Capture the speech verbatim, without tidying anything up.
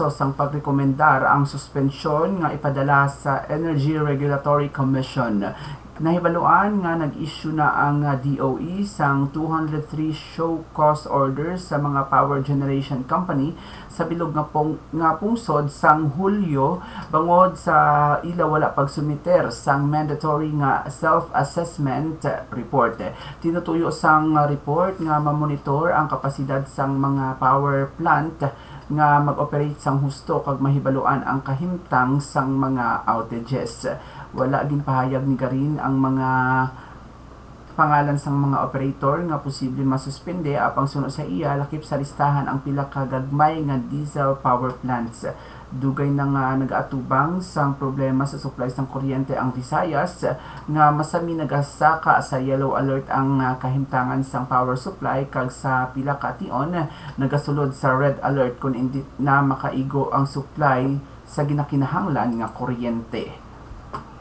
sang pagrekomendar ang suspensyon nga ipadala sa Energy Regulatory Commission. Nahibaluan nga nag-issue na ang D O E sang two hundred three show cause orders sa mga power generation company sa bilog nga pung-, nga pungsod sang Hulyo bangod sa ila wala pagsumiter sang mandatory nga self-assessment report. Tinutuyo sang report nga mamonitor ang kapasidad sang mga power plant nga mag-operate sang husto kag mahibaluan ang kahimtang sang mga outages. Wala ginpahayag ni Garin ang mga pangalan sang mga operator nga posible masuspende, apang suno sa iya, lakip sa listahan ang pila ka gagmay nga diesel power plants. Dugay na nga nagaatubang sang problema sa supply sang kuryente ang Visayas, nga masami nagasaka sa yellow alert ang, ah, kahimtangan sang power supply, kag sa pila ka tion nagasulod sa red alert kon indi na makaigo ang supply sa ginakinahanglan nga kuryente.